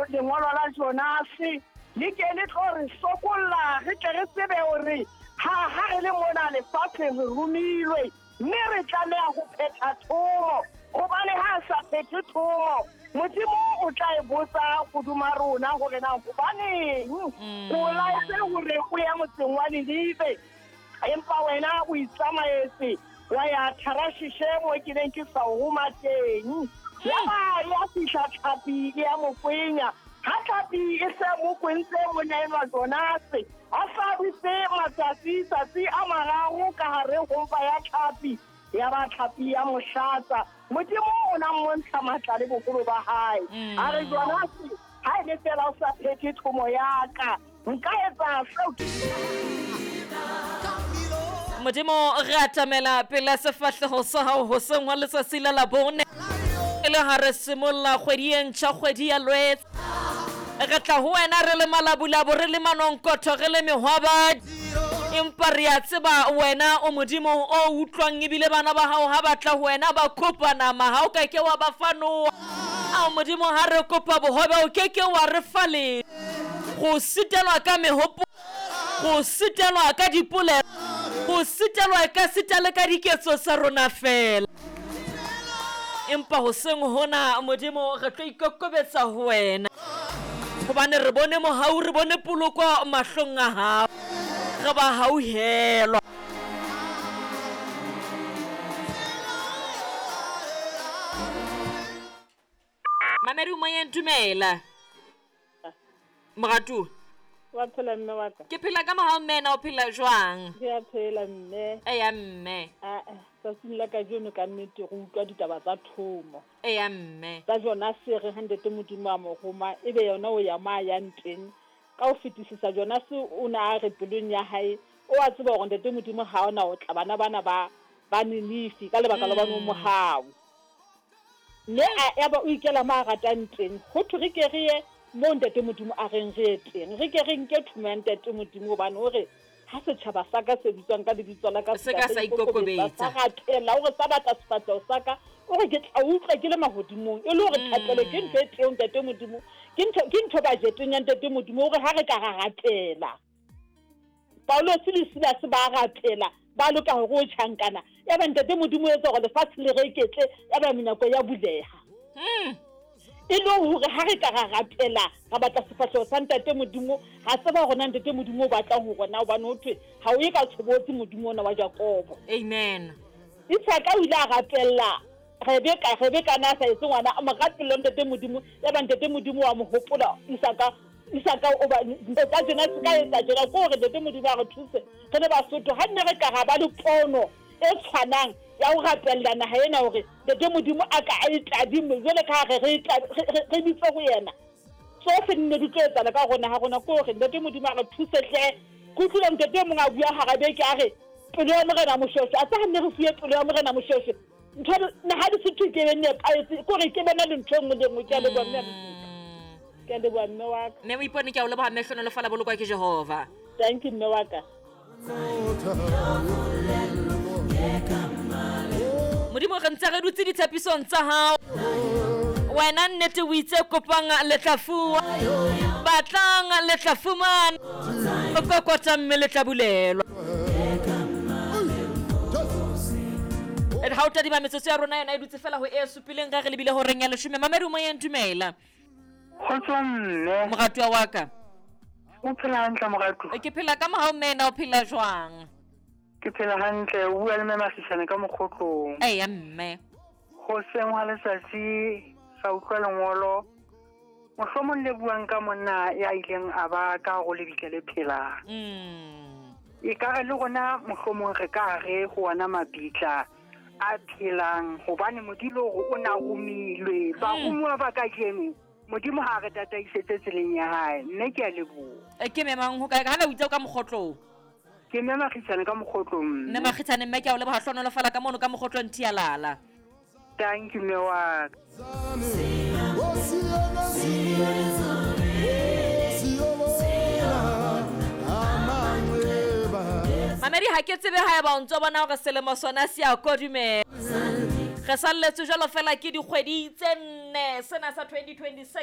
lengolo la Jonase le ke le tlo re sokolla, re tle re tsebe hore ha ha re le mona lefatsheng re romilwe, mme re tlameha ho phetha thomo, hobane ha a sa phethe thomo, Modimo o tla e botsa hodima rona hore na hobaneng o laetse hore o ye motseng wa Ninive, empa wena o itsamaetse wa ya Tarashishe mo ke neng ke sa o roma teng. Yaba ya fihla tlhapi e ya mo kwenya. Ha tlhapi e se mo kwentse monna enwa Jonase, a sa dutse matsatsi tsatsi a mararo ka hare ho mpa ya tlhapi, yaba tlhapi ya mo hlatsa. Modimo o na mmontsha matla le boholo ba hae. A re, Jonase, ha e le feela o sa phethe thomo ya ka, nka etsa seo ke. Modimo, re atamela pela sefahleho sa hao hoseng hwa letsatsi la Labone, e le ha re simolla kgwedi e ntjha, kgwedi ya Lwetse. Re tla ho wena re le malabulabu, re le manonkotho, re le mehwabadi, empa re a tseba wena o Modimo o utlwang, ebile bana ba hao ha ba tla ho wena ba kopa nama, ha o ka ke wa ba fa noa. Ao Modimo, ha re kopa bohobe o ke ke wa re fa letho. Go sitelwa ka mehopolo, go sitelwa ka dipolelo, go sitelwa ka sita le ka diketso tsa rona fela. Empa hoseng hona Modimo re tlo ikokobetsa ho wena, hobane re bone mohau, re bone poloko mahlong a hao, re ba hauhelwa. Mamedi o moyeng, dumela. Moratuwa. Wa phela mme wa ka? Ke phela ka mohau mme, na o phela jwang? Ke a phela mme. Eya mme. Aa, tsatsing la kajeno ka nnete re utlwa ditaba tsa thomo. Eya mme. Tsa Jonase re ha Ntate Modimo a mo roma, ebe yona o ya mo a yang teng. Ka ho fetisisa Jonase o ne a re pelong ya hae, o a tseba hore Ntate Modimo ha ona ho tla bana bana ba ba Ninife ka lebaka la hobane o mohau. Mme a yaba o ikela mo a ratang teng. Ho thwe re ke re ye moo Ntate Modimo a reng re ye teng. Re ke re nke thomo ya Ntate Modimo, hobane o re, Ha setjhaba sa ka se bitswang ka lebitso la ka se ka sa ikokobetsa, sa rapela, o re sa batla sefahleho sa ka, o re ke tla utlwa ke le mahodimong. E le hore thapelo ke ntho e teng, Ntate Modimo, ke ntho, ke ntho bajeteng ya Ntate Modimo, o re ha re ka ra rapela. Paulose le Silase ba rapela, ba loka hore o tjhankana. Yaba Ntate Modimo o etsa hore lefatshe le reketle, yaba menyako ya buleha. E le hore ha re ka ra rapela, ra batla sefahleho sa Ntate Modimo, ra tseba hore na Ntate Modimo o batlang ho rona, hobane ho thwe ha o ye ka tshobotsi Modimo ona wa Jakobo. Amen. Isaka o ile a rapella Rebeka, Rebeka na sa etse ngwana, a mo rapella Ntate Modimo, yaba Ntate Modimo wa mo hopola Isaka. Isaka o ba etsa tjena, se ka etsa tjena, ke hore Ntate Modimo a re thuse re le Basotho, ha nne re ka ra ba le pono e tshwanang ya ho rapella naha ena hore Ntate Modimo a ka a e tadime jwale ka ha re re re bitse ho yena, tsohle di ne di tlo etsahala ka rona ha rona. Ke hore Ntate Modimo a re thuse hle. Ke utlwile ntate e mong a bua hara beke a re pelo ya Morena Moshweshwe, a tsa ha nne re fuwe pelo ya Morena Moshweshwe, ntho naha di se thwe ke be nepahetse, ke hore ke bona le ntho e nngwe le e nngwe. Ke a leboha mme. Ke a leboha mme wa ka. Mme o ipone, ke a o leboha mme, hlonolofala bolokwa ke Jehova. Thank you mme wa ka. Modimo, re ntse re dutse ditshepisong tsa hao. Wena nnete o itse kopang le tla fuwa, batlang le tla fumana, kokota mme le tla bulelwa. Ha o tadima metsotso ya rona yona e dutse fela ho e supileng ge re lebile horeng ya leshome. Mamedi o moyeng, dumela. Kgotso mme. Moratuwa wa ka. O phela hantle moratuwa? Ke phela ka mohau mme, na o phela jwang? Ke phela hantle, o bua le mme Magisane ka mokgotlong. Eya mme. Hoseng hwa letsatsi ra utlwa lengolo mohlomong le buang ka monna ya ileng a ba ka hare ho lebitla le phelang. E ka re le rona mohlomong re ka hare ho ona mabitla a phelang, hobane Modimo o re o na romilwe. Baromuwa ba kajeno, Modimo ha a re tataisetse tseleng ya hae. Mme ke a leboha. Ke memang ho kae? Ha o itse o ka mokgotlong. Ke mme Makgitshane ka mokgotlong. Mme Makgitshane, mme ke a o leboha, hlohonolofala ka mono ka mokgotlong Thialala. Thank you mme wa ka. Mamedi, ha ke tsebe haeba o ntso bona hore selemo sona se a kodumela. Re salletswe jwalo fela ke dikgwedi tse nne sena sa 2026.